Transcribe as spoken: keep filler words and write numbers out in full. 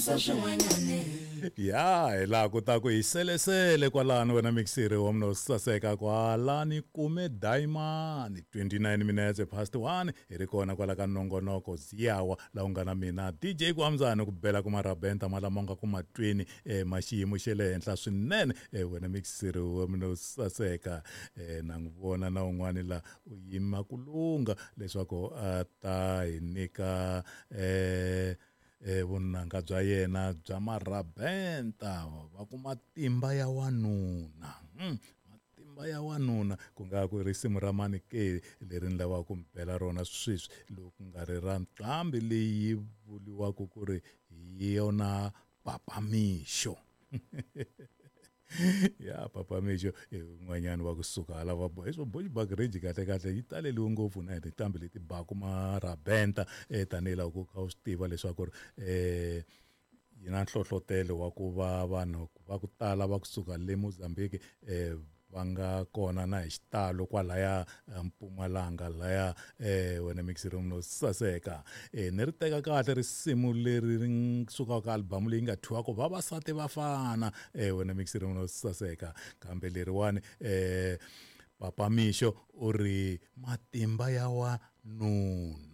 Swin'wanyana. Ya, hi laha ku ta ku hi selesele kwalano wena mixiri wa mina wo saseka kwalani kume diamond twenty-nine minutes past one hi ri kona kwala ka nongonoko ziyawa laha u nga na mina D J Kwamzani ku bela ku marabenta malama nga ku matweni eh, ma xiyimo xa le henhla swinene. eh, wena mixiri wa mina wo saseka, eh, na n'wi vona na un'wani la u yima ku lungha leswaku a ta hi nyika eh eh vunanga bya yena bya marabenta va ku matimba ya wanuna. mm, matimba ya wanuna ku nga ku risimu ra mani ke leri ni lavaka ku mi bela rona sweswi, loko ku nga ri ra nqambi leyi vuriwaka ku ri hi yona Papa Mixo. Ya, Papa Mixo i un'wanyana wa kusuka hala va hi swo Bushbuckridge. Kahle kahle yi taleliwe ngopfu na hi tinqambi leti baku marabenta, eh tanihi loko u kha u swi tiva leswaku ri eh yi na nhlohlotelo wa ku va vanhu va ku tala va kusuka le Mozambique eh va nga kona na hi xitalo kwalaya Mpumalanga laya. eh wena mixiri no saseka, eh ni ri teka kahle risimu leri ri sukaka ka album leyi nga thyiwaka Vavasati Vafana. eh wena mixiri no saseka, kambe leriwani eh Papa Mixo u ri matimba ya wanuna.